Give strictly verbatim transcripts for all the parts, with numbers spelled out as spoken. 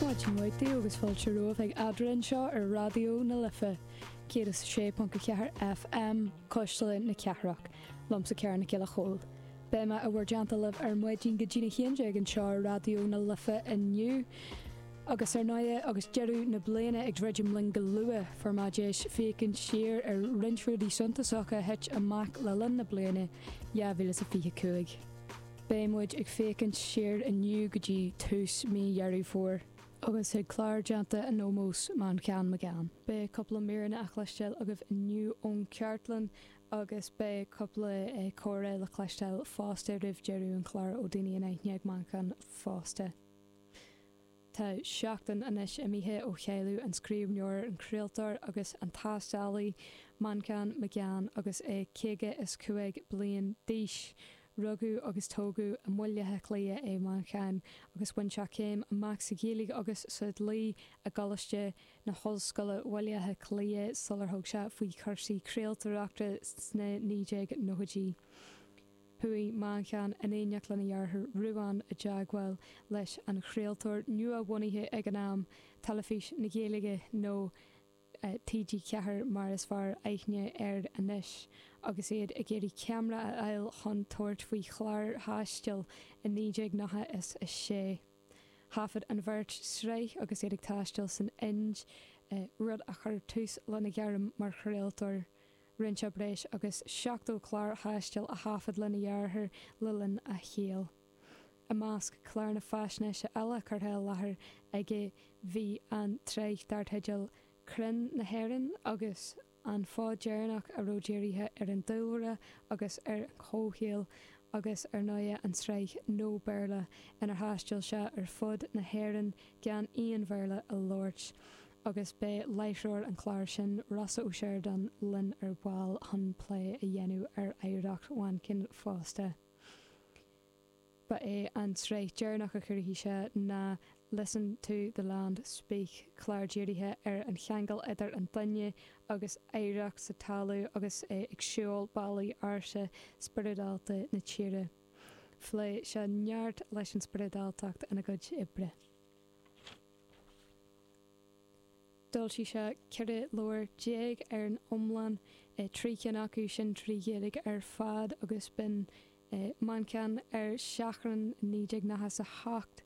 Maidin mhaith daoibh agus fáilte romhaibh ag Eadra anseo ar Raidió na Life, céad is a sé ponc a ceathair FM, Cuisle na Cathrach, liomsa Ciara Nic Giolla Chóill. Beidh mé i bhur dteannta libh ar maidin go dtína haon déag anseo ar Raidió na Life inniu. Agus ar ndóigh, agus deireadh na bliana ag druidim linn go luath, fuair mé deis féachaint siar ar roinnt rudaí suntasacha a thit amach le linn na bliana dhá mhíle is a fiche cúig. Beidh muid ag féachaint siar inniu go dtí tús mí Dheireadh Fómhair agus chuig clár déanta in ómós Manchán Magan. Beidh cúpla míreanna á chloisteáil agaibh inniu ón chartlann agus beidh cúpla comhrá le cloisteáil fosta roimh deireadh an chláir ó daoine in aithne ag Manchán fosta. Tá seachtain anois imithe ó chailleadh an scríbhneoir, an craoltóir agus an taistealaí Manchán Magan agus é caoga is cúig bliain d'aois. Rugadh agus tógadh i mBaile Átha Cliath é Manchán agus bhain sé céim amach sa Ghaeilge agus sa dlí i gColáiste na hOllscoile Bhaile Átha Cliath sular thug sé faoi chúrsaí craoltóireachta sna naoi déag nóchaidí. Chuaigh Manchán in éineacht lena dheartháir Ruán i dteagmháil leis an chraoltóir nua-bhunaithe ag an am, Teilifís na Gaeilge nó T G ceathair mar is fearr aithne air anois, agus iad ag iarraidh ceamara a fháil chun tabhairt faoi chlár taistil i naoi déag nócha is a sé. Thaifead an bheirt sraith agus iad ag taisteal san Ind, rud a chuir tús lena ghairm mar chraoltóir. Rinne sé breis agus seachtó clár taistil a thaifead lena dheartháir le linn a shaoil. I measc cláranna faisnéise eile curtha i láthair aige bhí an tsraith dar teideal Crainn na hÉireann agus An Fód Deireanach a raibh dírithe ar an dúlra agus ar an chomhshaol agus ar ndóigh an tsraith No Béarla inar thaistil sé ar fud na hÉireann gan aon Bhéarla a labhairt agus beidh láithreoir an chláir sin, Rossa Ó Seireadáin, linn ar ball chun plé a dhéanamh ar oidhreacht Mhanchain fosta. Ba é an tsraith dheireanach a chruthaigh sé ná Listen to the Land Speak, clár dírithe ar an cheangal idir an duine agus oidhreacht sa talamh agus é ag siúl bealaí ársa spioradálta na tíre. Phléigh sé neart leis an spioradáltacht ina chuid oibre. D'fhoilsigh sé ceithre leabhar déag ar an iomlán, trí cinn acu sin trí Ghaeilge ar fad agus b'in Manchán ar Seachrán i naoi déag nócha is a hocht,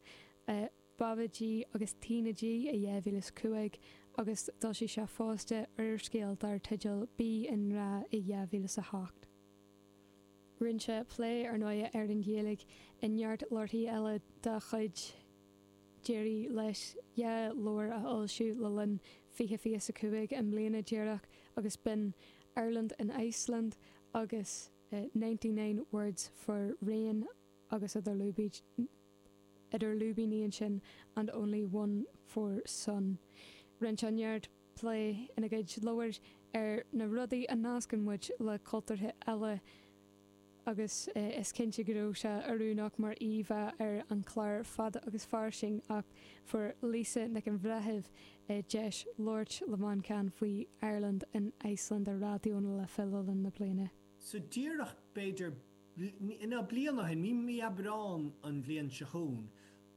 Baba G agus Tina G i dhá mhíle is cúig agus d'fhoilsigh sé fosta úrscéal dar teideal Bí i nGrá i dhá mhíle is a hocht. Rinne sé plé ar ndóigh ar an Ghaeilge i neart leabharthaí eile dá chuid. D'éirigh leis dhá leabhar a fhoilsiú le linn fiche fiche is a cúig, i mbliana díreach, agus b'in Ireland in Iceland agus Ninety Nine Words for Rain agus idir lúibíní ansin and Only One for Sun. Rinne sé neart plé ina gcuid leabhar ar na rudaí a nascann muid le cultúrtha eile agus is cinnte go raibh sé oiriúnach mar íomhá ar an chlár Fada agus Fairsing ach fuair Lisa Nic an Bhreithimh deis labhairt le Manchán faoi Ireland in Iceland ar Raidió na Life le linn na bliana. So díreach b'fhéidir ná bliain ó shin, mí mí Aibreán an bhliain seo chugainn,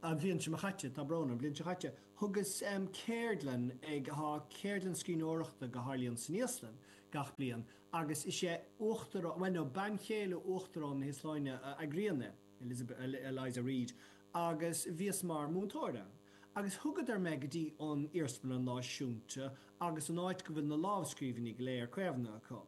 an bhliain seo chaite, tá brón orm, an bhliain seo chaite, thugas ceardlann ag, tá ceardlann scríbhneoireachta go tharlaíonn san Íoslainn gach bliain agus is é uachtarán, bhuel no, bean chéile uachtarán na hÍoslainne a eagraíonn é, Elizabeth, Eliza Reid, agus bhíos mar mhúinteoir ann. Agus thugadar mé go dtí an Iarsmalann Náisiúnta agus an áit go bhfuil na lámhscríbhinní go léir caomhnaithe acu.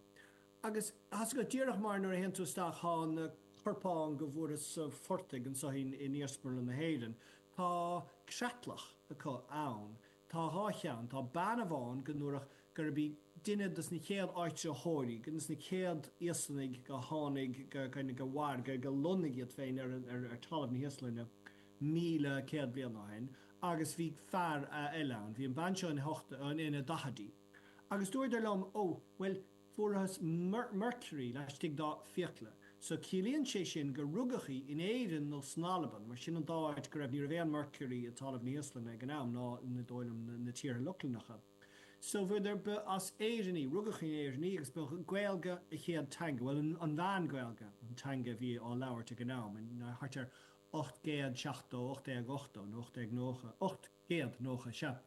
Agus tá's agat, díreach mar nuair a théann tú isteach thá na corpáin go bhfuarthas sa phortaigh anso in Iarsmalann na hÉireann, tá creatlach acu ann. Tá dhá cheann. Tá bean amháin go ndúradh gurb í duine dos na chéad áitritheoirí, duine dos na chéad Íoslannaigh go tháinig, go, go mhair, go, go lonnaigh iad féin ar, ar, ar talamh na hÍoslainne míle céad bliain ó shin. Agus bhí fear eile ann. Bhí an bean seo ina hocht, ina daichidí. Agus dúradar liom, ó, bhuel, Fuarthas mercury laistigh dá fiacla. So ciallaíonn sé sin gur rugadh í in Éirinn nó san Albain, mar sin an dá áit go raibh, ní raibh aon mercury i dtalamh na hÍoslainne ag an am, ná ní dóigh liom na tíortha Lochlannacha. So bhíodar, ba as Éirinn í, rugadh in Éirinn í agus ba Gaeilge a chéad teanga, bhuel an Mheán-Ghaeilge an teanga a bhí á labhairt ag an am, thart ar ocht gcéad seachtó, ocht déag ochtó nó ocht déag nócha, ocht gcéad nócha, sea.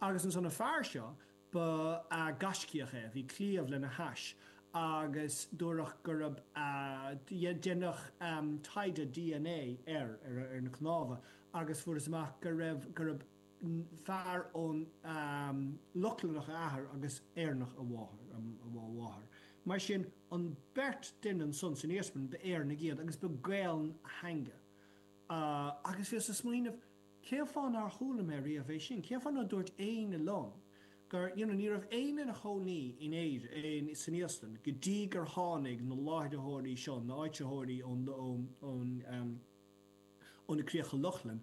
Agus ansan an fear seo, ba gaiscíoch é, bhí claíomh lena hais agus dúradh gurb deineadh taighde DNA air, ar na cnámha, agus fuarthas amach go raibh, gurb fear ón Lochlannach a athair agus Éireannach a mháthair, a mháthair. Mar sin, an beirt duine ansan san iarsmalann, ba Éireannaigh iad agus ba Gaelainn a theanga. Agus bhíos ag smaoineamh, cén fáth nár chuala mé riamh é sin? Cén fáth nár dúirt éinne liom gur, you know, ní raibh éinne ina chónaí in Éirinn, san Íoslainn, go dtí gur tháinig na láithritheoirí seo, na áitritheoirí ón, ón, ón, ó na Críocha Lochlann,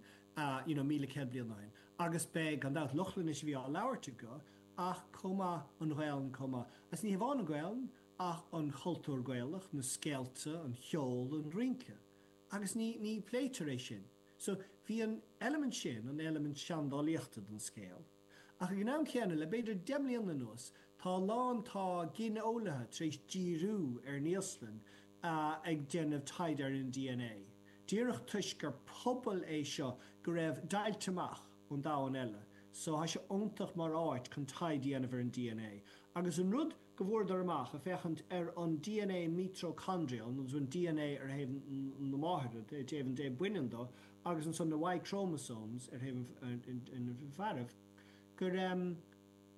you know, míle céad bliain ó shin. Agus b'é, gan dabht, Lochlainnis a bhí á labhairt acu, ach chomh maith an Ghaelainn chomh maith. Agus ní hamháin an Ghaelainn, ach an chultúr Gaelach, na scéalta, an cheol, an rince. Agus ní, ní pléitear é sin. So, bhí an eilimint sin, an eilimint seandálaíochta den scéal. Ach ag an am céanna, le b'fhéidir deich mbliana anuas, tá a lán, tá gineolaithe tar éis díriú ar an Íoslainn ag déanamh taighde ar an DNA. Díreach toisc gur pobal é seo go raibh deighilte amach ón domhan eile, so tá sé iontach mar áit chun taighde a dhéanamh ar an DNA. Agus an rud go bhfuaireadar amach ag féachaint ar an DNA mitochondrial, nó an DNA ar thaobh na máthar, taobh an dé baineann dó, agus ansan na Y chromosomes ar thaobh an fearaibh, gur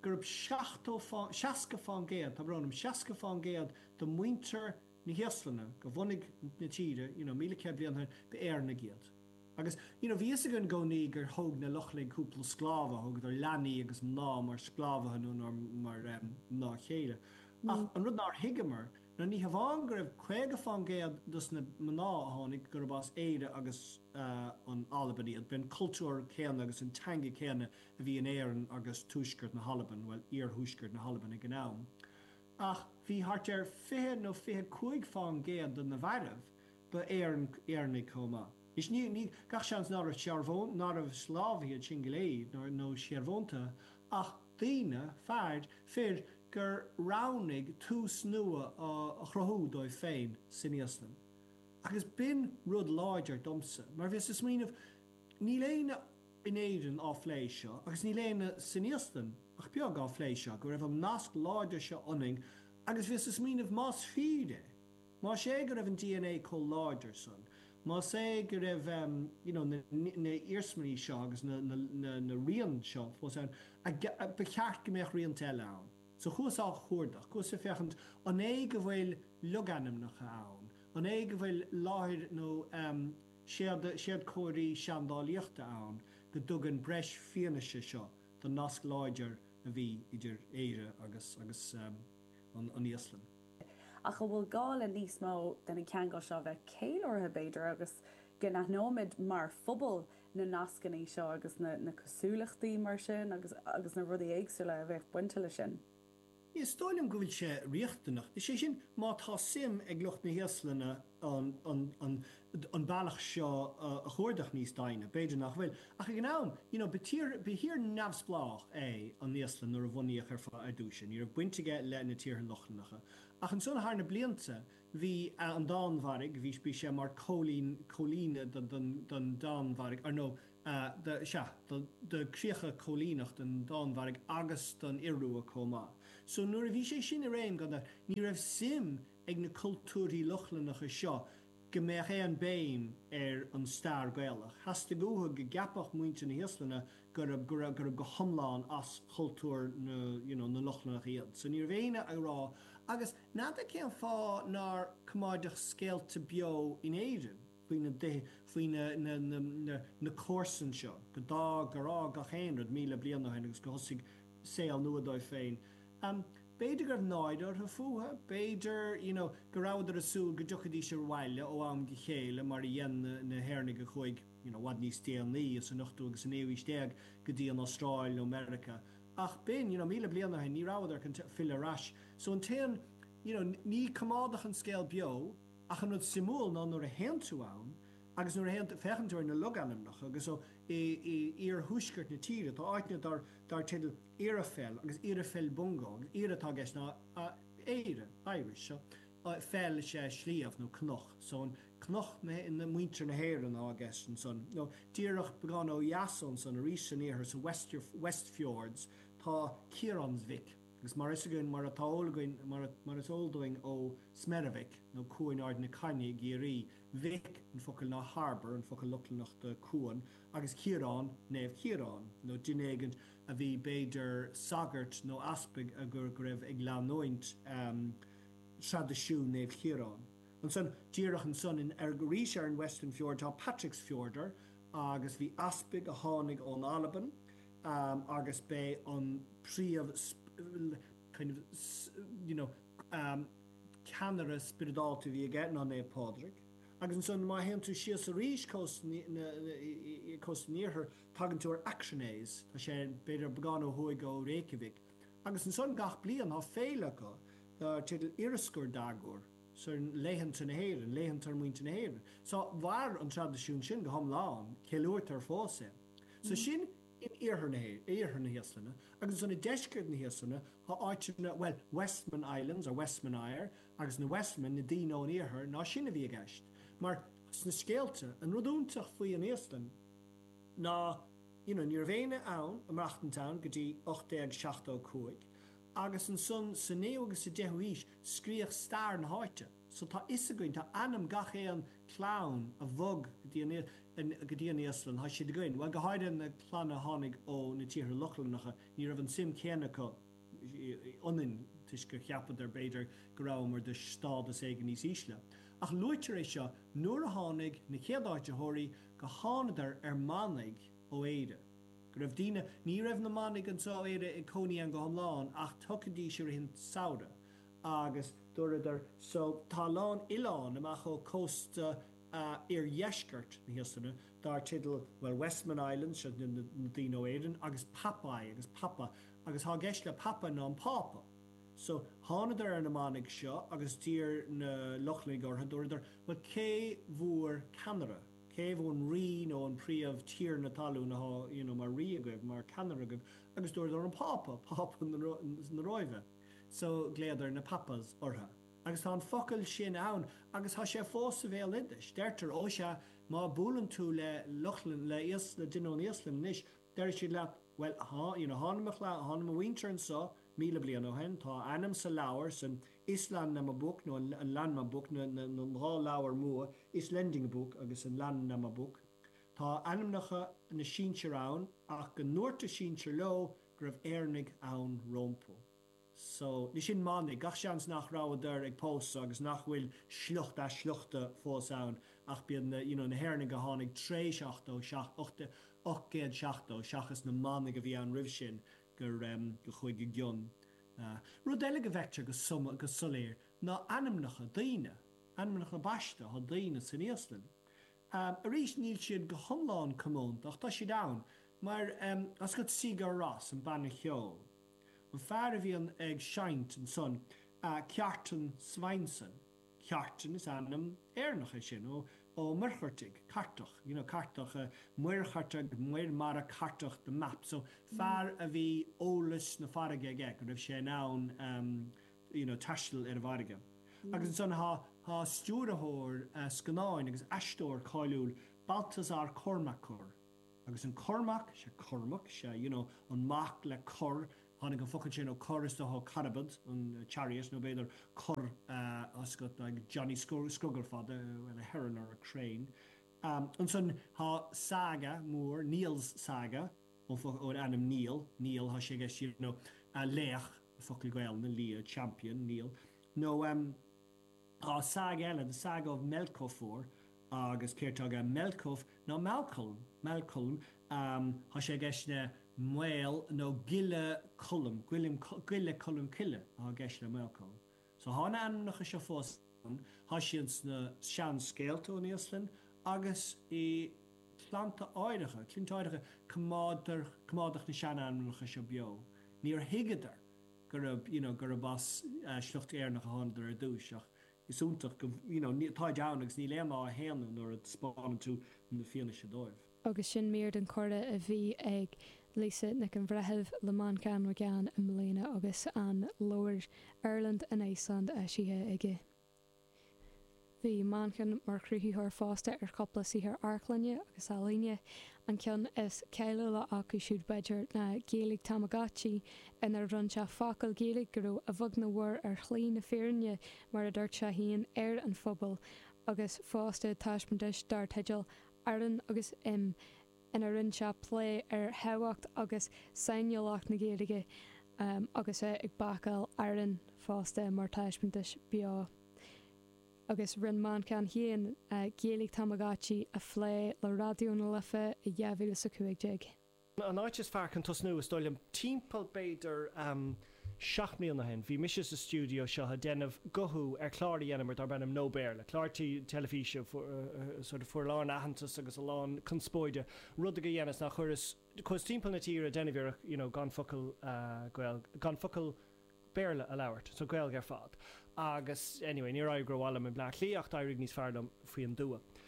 gurb seachtó fá, seasca fán gcéad, tá brón orm, seasca fán gcéad de mhuintir na hÍoslainne go bhunaigh na tíre, you know, míle céad bliain ó shin, ba Éireannaigh iad. Agus, you know, bhí fhios againn i gcónaí gur thóg na Lochlannaigh cúpla sclábha, thógadar leanaí agus mná mar sclábhaithe nó mar mná chéile. Ach an rud nár thuigeamar ná ní hamháin go raibh caoga fán gcéad dos na mná a tháinig gurb as Éire agus an Albain iad, b'in cultúr céanna agus an teanga céanna a bhí in Éirinn agus tuaisceart na hAlban, bhuel, iarthuaisceart na hAlban ag an am. Ach bhí thart ar fiche nó fiche cúig fán gcéad de na fearaibh, ba Éireannaigh chomh maith. Anois ní, ní, gach seans ná raibh searbhón, ná raibh sclábhaithe iad sin go léir, nó, nó searbhóntaithe, ach daoine, fear, fir, gur roghnaigh tús nua a chruthú dóibh féin san Íoslainn. Agus b'in rud láidir domsa, mar bhíos ag smaoineamh, níl éinne in Éirinn á phlé seo, agus níl éinne san Íoslainn ach beag á phlé seo, go raibh an nasc láidir seo ionainn, agus bhíos ag smaoineamh, más fíor é, más é go raibh an DNA chomh láidir san, más é go raibh you know na na iarsmaí seo agus na na na rian seo fós ann, ba cheart go mbeadh rianta eile ann. So chuas á chuardach, chuas ag féachaint an é go bhfuil logainmneacha ann, an é go bhfuil láthair nó séad séadchomharthaí seandálaíochta ann go dtugann breis fianaise seo don nasc láidir a bhí idir Éire agus agus an an Íoslainn. Ach an bhfuil gá le níos mó de na ceangail seo a bheith ceiliúrtha, b'fhéidir, agus go n-aithneoimid mar phobal na nascanna seo agus na na cosúlachtaí mar sin agus agus na rudaí éagsúla a bheadh bainte leis sin? Is dóigh liom go bhfuil sé riachtanach, is é sin má tá suim ag lucht na hÍoslainne an an an an bealach seo a chuardach níos doimhne, b'fhéidir nach bhfuil. Ach ag an am, you know, ba tír ba thír neamhspleách é an Íoslainn nuair a bhunaíodh ar ar dtús. Ní raibh baint aige le na tíortha Lochlannacha. Ach ansan thar na blianta bhí an Danmhairg, bhí bhí sé mar cóilín cóilíne don don don Danmhairg, ar nó do sea, do do críocha cóilíneach don Danmhairg agus don Iorua chomh maith. So nuair a bhí sé sin i réim gan dabht ní raibh suim ag na cultúrthaí Lochlannacha seo go mbeadh aon béim ar an stair Gaelach. Theastaigh uathu go gceapfadh muintir na hÍoslainne gurb go raibh gurb go hiomlán as chultúr na you know na Lochlannach iad. So ní raibh éinne ag rá agus n'fheadar cén fáth nár coimeádadh scéalta beo in Éirinn faoi na faoi na na na na na comharsain seo go dá gur fhág gach aon rud míle bliain ó shin agus go thosaigh saol nua dóibh féin. Um b'fhéidir go raibh náire orthu fúthu, b'fhéidir you know go rabhadar ag súil go dtiocfaidís abhaile ó am go chéile mar a dhein na na hÉireannaigh a chuaigh you know i bhfad níos déanaí san ochtú agus sa naoú haois déag go dtí an Astráil nó Meiriceá. Ach b'in, you know, míle bliain ó shin, ní rabhadar chun filleadh ar ais. So an t-aon, you know, ní coimeádadh an scéal beo, ach an rud suimiúil ná nuair a théann tú ann agus nuair a théann, féachann tú ar na logainmneacha agus so i, i iarthuaisceart na tíre, tá áiteanna dar, dar teideal Irafell agus Irafell Bungo agus Ira atá i gceist ná Éire, Irish, so fell is ea sliabh nó cnoc, so an Cnoc na muintir na hÉireann atá i gceist ansan. Nó díreach beagán ó dheas ansan, arís san iarthar, sa Westfjords, tá Ciaránsvík. Agus mar is againn, mar atá eol againn, mar is eol dúinn ó Smerivik, nó Cuan Ard na Cainne i gCiarraí, vik an focal ná harbour, an focal Lochlannach do cuan, agus Ciarán, Naomh Ciarán, nó duine éigint a bhí b'fhéidir sagart nó easpag a go raibh ag leanúint traidisiún Naomh Chiaráin. Ansan, díreach ansan, in, arís ar an Western Fjord, tá Patreksfjörður, agus bhí easpag a tháinig ón Albain, agus b'é an príomh kind of you know ceannaire spioradálta a bhí aige ná Naomh Pádraig. Agus ansan má théann tú síos arís cósta cósta an iarthair tagann tú ar Akranes, tá sé b'fhéidir beagán ó thuaidh ó Reykjavik. Agus ansan gach bliain tá féile acu dar teideal Írskur dagur, so laethanta na hÉireann, laethanta muintir na hÉireann. So mhair an traidisiún sin go hiomlán, ceiliúrtar fós é. So sin in iarthar na iarthar na hÍoslainne, agus ansan i deisceart na hÍoslainne tá áiteanna, bhuel, Westman Islands or Westmannaeyjar, agus na Westmen, na daoine ón iarthar, ná sin a bhí i gceist. Mar sna scéalta, an rud iontach faoi an Íoslainn ná, you know, ní raibh éinne ann, ag maireachtaint ann go dtí ocht déag seachtó a cúig, agus ansan sa naoú agus sa deichiú haois scríodh stair na háite. So tá fhios againn, tá ainm gach aon clann a bhog go dtí an, go dtí an Íoslainn, tá siad againn. Bhuel, go háirithe na clanna a tháinig ó na tíortha Lochlannacha, ní raibh an suim céanna acu ionainn toisc gur cheapadar, b'fhéidir, go rabhamar de stádas éigin níos ísle. Ach luaitear é seo nuair a tháinig na chéad áititheoirí, go thánadar ar manaigh ó Éire. Go raibh daoine, ní raibh na manaigh anseo ó Éire ag cónaí ann go hiomlán ach thiocfaidís i rith an tsamhraidh agus dúradar so tá a lán oileán amach ó cósta iardheisceart na hÍoslainne dar teideal bhuel Westman Islands, seo na daoine ó Éirinn, agus Papay agus Papa agus thá i gceist le Papa ná an Pápa. So thánadar ar na manaigh seo agus d'iarr na Lochlannaigh orthu, dúradar bhuel cé bhúr ceannaire? Cé bhur rí nó an príomh tiarna talún athá you know mar rí agaibh, mar ceannaire agaibh? Agus dúradar an Pápa, Pápa na Róimhe. So ghlaodar na Papas orthu. Agus tá an focal sin ann agus tá sé fós sa bhéaloideas. Deirtear, ó sea, má buaileann tú le Lochlann, le Íos, le duine ón Íoslainn anois, déarfaidh siad leat, bhuel, thá, you know, tháinig mo chlann, tháinig mo mhuintir anso míle bliain ó shin, tá a ainm sa leabhar, san Íslandnámabók nó an Landnámabók, na, na, na dhá leabhar mór, Íslendingabók agus an Landnámabók. Tá ainmneacha na sinsear ann ach go ndúirt a sinsir leo go raibh Éireannaigh ann rompu. So, ní sin manaigh, gach seans nach rabhadar ag pósadh agus nach bhfuil sliocht as sliochta fós ann ach b'iad na, you know, na hÉireannaigh a tháinig tréis ochtó seacht, ocht, ocht gcéad seachtó seachas na manaigh a bhí ann roimh sin gur, em, go chuaigh i gcion. Rud eile go bhfeictear go soma, go soiléir ná ainmneacha daoine, ainmneacha baiste atá daoine san Íoslainn. Arís níl siad go hiomlán comónta ach tá siad ann, mar, em, as go Sigur Rós, an banna ceoil. An fear a bhíonn ag seinnt ansan, Kjartan Sveinsson, Kjartan is ainm Éireannach é sin, ó Ó Muircheartaigh, Cartach, you know, Cartach, Muircheartach, Muir Mara Cartach, the map, so fear a bhí eolas na farraige aige, go raibh sé in ann, you know, taisteal ar an bhfarraige. Agus ansan thá, thá stiúrthóir scannáin agus aisteoir cáiliúil, Baltasar Kormákur, Agus an Cormac, sea Cormac, sea, you know, an mac le Cor, tháinig an focal sin ó cor is dócha carbad, an chariot, nó b'fhéidir cor oscailt like Johnny Scrogall fada, well a heron or a crane. Ansan thá saga mór, Niall's Saga, ón ainm Niall, Niall, thá sé i gceist, you know, laoch, focal Gaelainne, lia, champion, Niall, nó em. Tá saga eile, The Saga of Melkofur, agus céard tá aige Melkof ná Malcolm, Malcolm, tá sé i gceist le Maol nó Giolla Cholm, Giolla Cholm Cille atá i gceist le Malcolm. So thá na ainmneacha seo fós ann, thá siad sna seanscéalta ón Íoslainn agus i clannta áirithe, clainnte áirithe, coimeádtar, coimeádadh na seanainmneacha seo beo. Níor thuigeadar gurb, you know, gurb as sliocht Éireannach a thánadar ar dtúis ach is iontach go, you know, táid ann agus níl aon fháth a shéanadh nuair a taispeánann tú na fianaise dóibh. Agus sin mír den chomhrá a bhí ag Lisa Nic an Bhreithimh le Manchán Magan i mbliana agus an leabhar Ireland in Iceland eisithe aige. Bhí Manchán mar chruthaitheoir fosta ar chúpla saothar amharclainne agus ealaíne. An ceann is cáiliúla acu siúd b'fhéidir ná Gaeilge Tamagotchi, inar bhronn sé focail Ghaeilge go raibh a bheag nó a mhór ar shlí na fírinne, mar a dúirt sé féin, ar an phobal, agus fosta taispeántais dar teideal Aran agus Im, ina rinne sé plé ar thábhacht agus sainiúlacht na Gaeilge agus é ag bácáil aráin fosta mar taispeántas beo. Agus rinne Manchán féin Gaeilge Tamagotchi a phlé le Raidió na Life i dhá mhíle is a cúig déag. An áit is fearr chun tosnú, is dóigh liom, timpeall b'fhéidir seacht mbliana ó shin, bhí mise sa stiúideo seo ag déanamh guthú ar chlár a dheineamar darb ainm No Béarla, clár teilifíse a sort of fuair a lán aitheantas agus a lán conspóide. Rud a dheineas ná chuireas, chuas timpeall na tíre ag déanamh iarracht, you know, gan focal Gael, gan focal Béarla a labhairt, so Gaeilge ar fad. Agus, anyway, níor éirigh rómhaith liom i mBleá Cliath ach d'éirigh níos fearr liom faoin dtuath.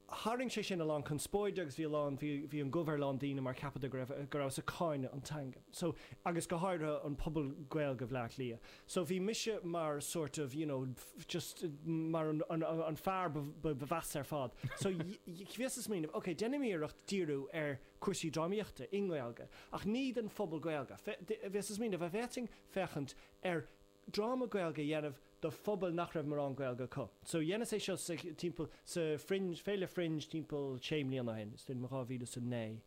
Tharraing sé sin a lán conspóide agus bhí a lán, bhí, bhí an gomh ar a lán daoine mar cheapadar go raibh, go rabhas ag cáineadh an teanga. So, agus go háirithe an pobal Gaeilge Bhleá Cliath. So bhí mise mar sort of, you know, just mar an, an, an fear ba, ba, ba mheasa ar fad. So bhíos ag smaoineamh, ok, déanaim iarracht díriú ar cúrsaí drámaíochta i nGaeilge, ach ní don phobal Gaeilge. Bhíos ag smaoineamh, an bhféadfainn féachaint ar dráma Gaeilge a dhéanamh do phobal nach raibh mórán Gaeilge acu. So dheineas é seo sa, timpeall, sa Fringe, Féile Fringe timpeall sé mbliana ó shin, is dóigh liom dhá mhíle is a naoi,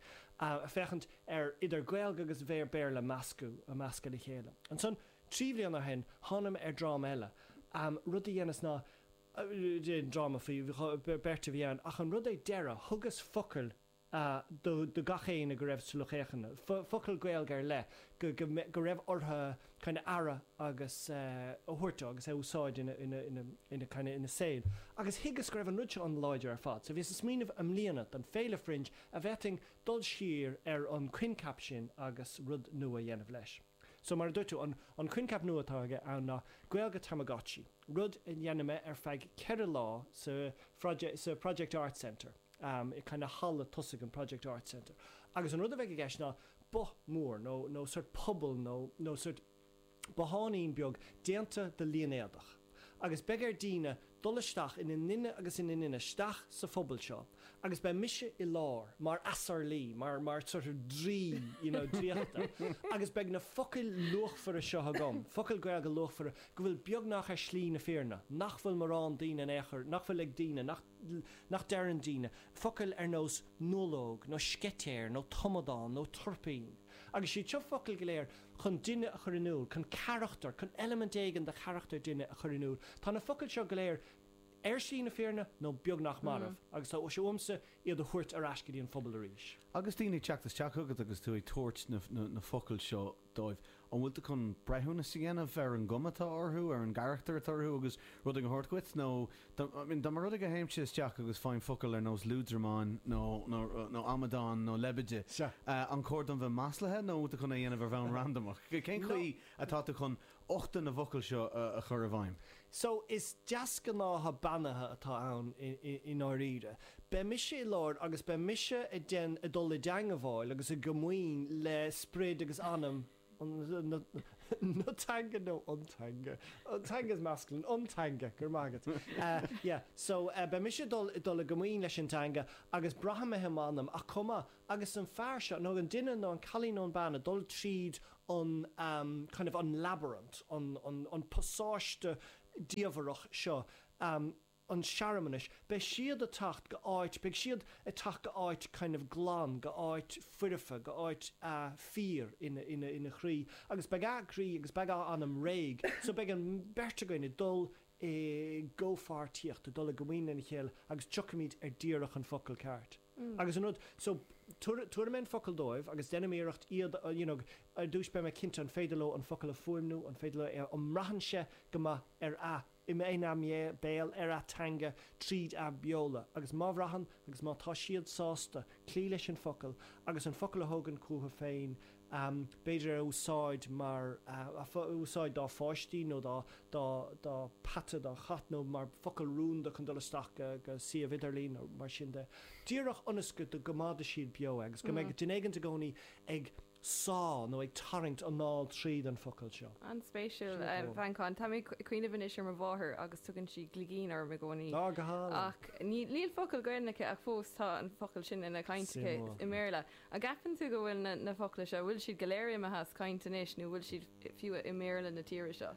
féachaint ar idir Gaeilge agus Béarla a meascadh, a meascadh le chéile. Ansan, trí bhliana ó shin, thánam ar dráma eile. Rud a dheineas ná, dráma faoi beirt a bhí ann, ach an rud ar deireadh, thugas focail do do gach éinne go raibh sa lucht féachana, focail Gaeilge ar leith go go go raibh orthu kind of aire agus a thabhairt dó agus é a úsáid ina ina ina ina kind of ina saol. Agus thuigeas go raibh an rud seo an-láidir ar fad. So bhíos ag smaoineamh i mbliana don Féile Fringe an bhféadfainn dul siar ar an coincheap sin agus rud nua a dhéanamh leis. So mar a dúirt tú, an an coincheap nua atá aige ann ná Gaeilge Tamagotchi, rud a dhéanfaidh mé ar feadh ceithre lá sa sa Project Arts Centre, um, i kind of halla tosaigh an Project Arts Centre. Agus an rud a bheidh i gceist ná both mór nó nó sort puball nó nó sort botháinín beag déanta de línéadach. Agus beidh ar daoine dul isteach ina nduine agus ina nduine isteach sa phuball seo agus beidh mise i lár mar asarlaí, mar mar sort of draoi, you know, draíochta. Agus beidh na focail luachmhara seo agam, focail Gaeilge luachmhara go bhfuil beagnach ar shlí na fírinne, nach bhfuil mórán daoine in aon chor, nach bhfuil ag daoine, nach nach deireann daoine, focail ar nós nuallóg nó sceitéir nó tomadán nó turpín. Agus siad seo focail go léir chun duine a chur in iúl, chun carachtar, chun eilimint éigin de charachtar duine a chur in iúl. Tá na focail seo go léir ar shlí na fírinne nó beagnach marbh, agus tá sé uaimse iad a thabhairt ar ais go dtí an phobal arís. Agus daoine ag teacht isteach chugat agus tú ag tabhairt na, na, na focail seo dóibh, an bhfuil tú chun breithiúnas a dhéanamh ar an gcuma atá orthu, ar an gcarachtar atá orthu agus rud a thabhairt duit, nó dá I mean, dá mba rud é go dtéimse isteach agus faighim focal ar nós lúdramán nó, nó, nó amadán nó leibide, Sea. uh, an cóir dom bheith maslaithe nó bhfuil tú chun é a dhéanamh ar bhonn randamach? Cén chaoi atá tú chun uchtach na bhfocal seo a, a chur i bhfeidhm? So is deasghnátha beannaithe atá ann i, i, i ndáiríre. Beidh mise i lár agus beidh mise ag den ag dul i dteangmháil agus i gcomaoin le sprid agus anam an, na, na teanga nó an teanga. An teanga is masculine, an teanga, go raibh maith agat. Uh, yeah, so uh, beidh mise dul dul i gcomaoin leis an teanga agus braithfidh mé i m'anam ach chomh maith agus an fear seo nó an duine nó an cailín nó an bean ag dul tríd an um, kind of an labyrinth, an, an, an pasáiste diamhrach seo. Um, an searmanais, beidh siad ag teacht go áit, beidh siad ag teacht go áit kind of glan, go áit foirfe, go áit uh, fíor ina, ina, ina chroí, agus beidh a gcroí agus beidh a anam réidh, so beidh an bheirt againn ag dul i gcomhpháirtíocht, ag dul i gcomaoin lena chéile agus tiocfaimid ar díreach an focal ceart. Mm. Agus an rud, so tabharfaidh mé an focal dóibh agus déanfaidh mé iarracht iad, uh, you know, ar dtús beidh mé cinnte an féidir leo an focal a fuaimniú, an féidir leo é, an mbraitheann sé go maith ar a ina mbéal ar a teanga tríd a beola, agus má bhraitheann agus má tá siad sásta cloí leis an focal agus an focal a thógaint chucu féin, um, b'fhéidir a úsáid mar uh, a úsáid dá pháistí nó dá dá dá peata dá chat nó mar focal rúnda chun dul isteach go, go suíomh idirlín nó mar sin de. Díreach ionas go go gcoimeádfaidh siad beo agus go mbeidh duine éigin i gcónaí ag sá nó ag tarraingt anáil tríd an focal seo. An-spéisiúil, a Mhanchán. Tá mé ag cuimhneamh anois ar mo mháthair agus tugann sí gligín orm i gcónaí. Á, go hálainn. Ach níl focal Gaeilge aici ach fós tá an focal sin ina caint aici i mBéarla. An gceapann tú go bhfuil na focla seo, bhfuil siad go léir imithe as caint anois nó bhfuil siad fiú i mBéarla na tíre seo?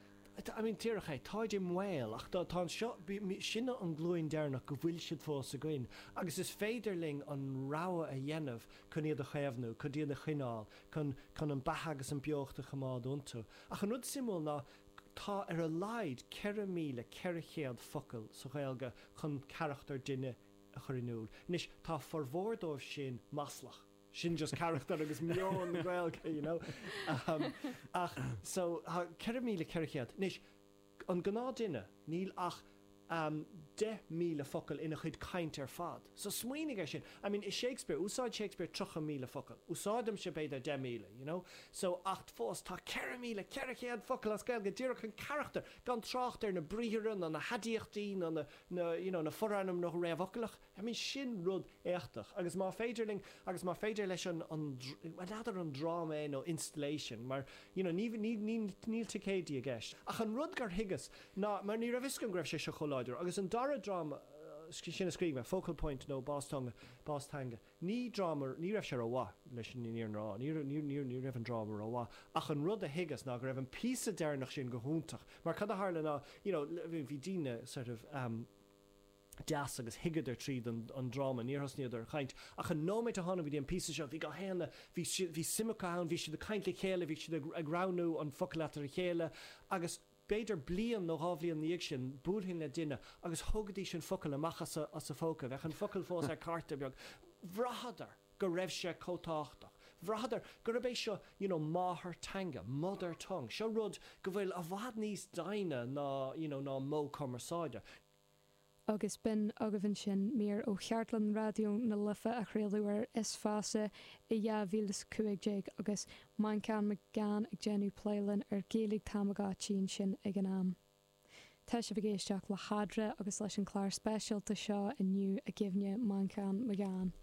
I mean, díreach é, táid i mbaol, ach tá tá seo, sinne an glúin deireanach go bhfuil siad fós againn, agus is féidir linn an rogha a dhéanamh chun iad a chaomhnú, chun iad a choinneáil, chun chun an beatha agus an beocht a choimeád iontu. Ach an rud suimiúil ná tá ar a laghad ceithre míle ceithre chéad focal sa Ghaeilge chun carachtar duine a chur in iúl. Anois, tá formhór dóibh sin maslach. Sin just carachtar agus meon na Gaeilge, you know. Um, ach, so, tá ceithre míle ceithre chéad. Anois, an gnáthduine, níl ach um, deich míle focal ina chuid caint ar fad. So smaoinigh ar sin. I mean, i Shakespeare, úsáid Shakespeare tríocha míle focal. Úsáidimse b'fhéidir deich míle, you know. So, ach fós, tá ceithre míle ceithre chéad focal as Gaeilge díreach chun carachtar, gan trácht ar na briathra, ná na haidiachtaí, ná na, na, you know, na forainmneacha réamhfhoclach. I mean, sin rud éachtach. Agus má féidir linn, agus má féidir leis an, an, bhuel, n'fheadar an dráma é nó installation, mar, you know, ní, ní, ní, níl ticéidí i gceist. Ach an rud gur thuigeas ná, mar ní raibh fhios agam go raibh sé seo chomh láidir, agus an dara dráma, sin a scríobh mé, Focal Point nó Bás Teanga, Bás Teanga, ní dráma, ní raibh sé rómhaith leis an fhírinne a rá, ní, ní, ní, ní raibh an dráma rómhaith, ach an rud a thuigeas ná go raibh an píosa deireanach sin go hiontach, mar cad a tharla ná, you know, bhí daoine sort of, um, deas agus thuigeadar tríd an, an dráma, níor thosnaíodar ar chaint. Ach an nóiméad a tháinig go dtí an píosa seo, bhí gach éinne, bhí si, bhí suim acu ann, bhí siad ag caint le chéile, bhí siad ag, ag roghnú an focal eatarthu a chéile, agus b'fhéidir bliain nó dhá bhliain ina dhiaidh sin, buailfinn le duine agus thógaidís an focal amach as a, as a phóca, bheadh an focal fós ar cárta beag. Bhraitheadar go raibh sé chomh tábhachtach. Bhraitheadar gurb é seo, you know, máthairtheanga, mother tongue, seo rud go bhfuil i bhfad níos doimhne ná, you know, ná modh cumarsáide. Agus b'in agaibh ansin mír ó cheardlann Raidió na Life a chraoladh ar Is Feasa i dhá mhíle is cúig déag agus Manchán Magan ag déanamh plé linn ar Gaeilge Tamagotchi ansin ag an am. Tá sibh ag éisteacht le hEadra agus leis an chlár speisialta seo inniu i gcuimhne Manchán Magan.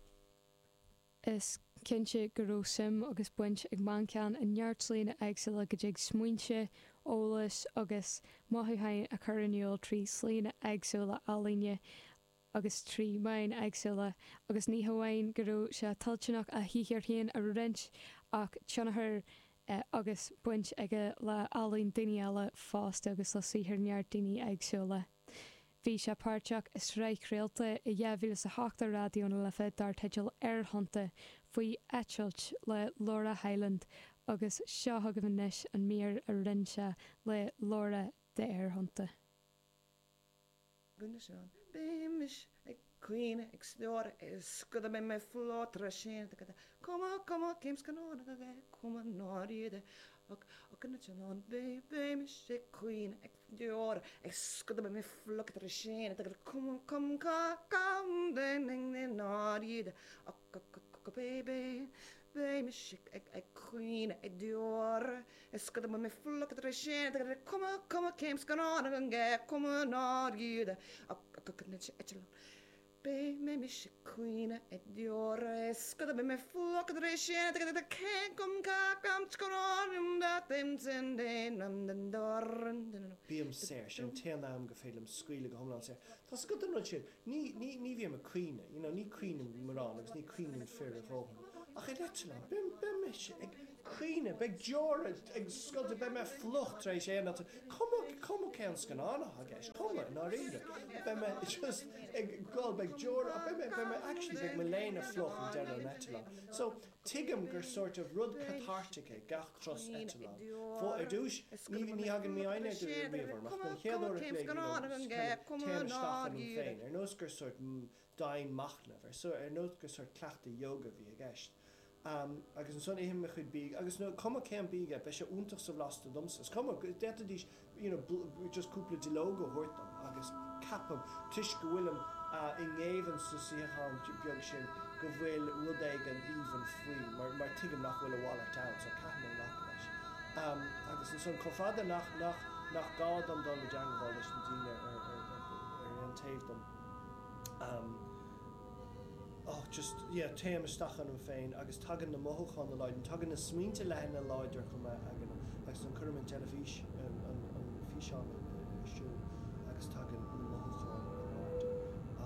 Is cinnte go raibh suim agus baint ag Manchán i neart slíonna éagsúla go dtig smaointe, eolas agus mothúcháin a chur in iúl trí slíonna éagsúla ealaíne agus trí mheáin éagsúla agus ní hamháin go raibh sé toilteanach a shaothar féin a roinnt ach tionchar agus baint aige le ealaín daoine eile fosta agus le saothar neart daoine éagsúla. Bhí sé páirteach i sraith chraolta i dhá mhíle is a hocht ar Raidió na Life dar teideal Aerthonnta faoi eitilt le Laura Hyland agus seo chugaibh anois an mír a rinne sé le Laura d'Aerthonnta. Bímis ag caoineadh ag stiúradh is go mbeidh mé fliuch tar éis sin Cuma cuma cén scannán a bheith cuma náiríde ach ach an an Bímis ag caoineadh ag stiúradh is go mbeidh mé fliuch tar éis sin Cuma cum ca cam náiríde ach ach ach baby Bímis ag ag caoineadh ag stiúradh is go mbeidh mé fliuch tar éis sin Cuma cuma cén scannán a bheith cuma náiríde ach ach ach an Bímis ag caoineadh ag deoradh is go mbeidh mé fliuch tar éis sin Bím saor, sin an t-aon am go féidir liom scaoileadh go hiomlán saor. Tá 's agat an rud sin, ní, ní, ní bhím ag caoineadh, you know, ní caoineann mórán agus ní caoineann fir a dhóthain. Ach ar eitleán, beidh, beidh mise ag caoineadh, beidh deora ag scoilteadh, beidh mé fliuch tar éis aon eitilt, cuma, cuma cén scannán atá i gceist, cuma, i ndáiríre, beidh mé just ag gol, beidh deora, beidh mé, beidh mé, actually, beidh mo léine fliuch ag deireadh an eitleáin. So, tuigim gur sort of rud cathartic é gach turas eitleáin. Fó, ar dtús, ní, ní thagann mífhoighne riamh orm, ach den chéad uair a chloig, you know, kind of téim isteach ionam féin, ar nós gur sort dianmhachnamh, ar, ar nós gur sort cleachtadh yoga a bhí i gceist. Agus ansan ithim mo chuid bídh, agus nó cuma cén bídh é, beidh sé iontach sobhlasta domsa. Is cuma, d'fhéadfaidís you know just cúpla duilleog a thabhairt dom agus ceapaim, toisc go bhfuilim i ngéibheann sa suíochán beag sin, go bhfuil rud éigin aoibhinn faoi, mar, mar tuigim nach bhfuil a mhalairt ann, so caithfidh mé glacadh leis. Agus ansan, chomh fada nach, nach, nach gá dom dul i dteangmháil leis na daoine ar, ar, ar, ar aon taobh dom, oh, just, yeah, téim isteach ionam féin agus tagann na mothúcháin láidir, tagann na smaointe leathana láidir chomh maith agam agus an cuirim an teilifís an, an, an físeán ar siúl agus tagann na mothúcháin in airde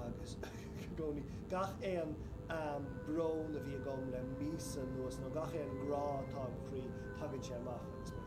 agus i gcónaí gach aon um, brón a bhí agam le míosa anuas nó gach aon grá atá im chroí tagann sé amach agus mé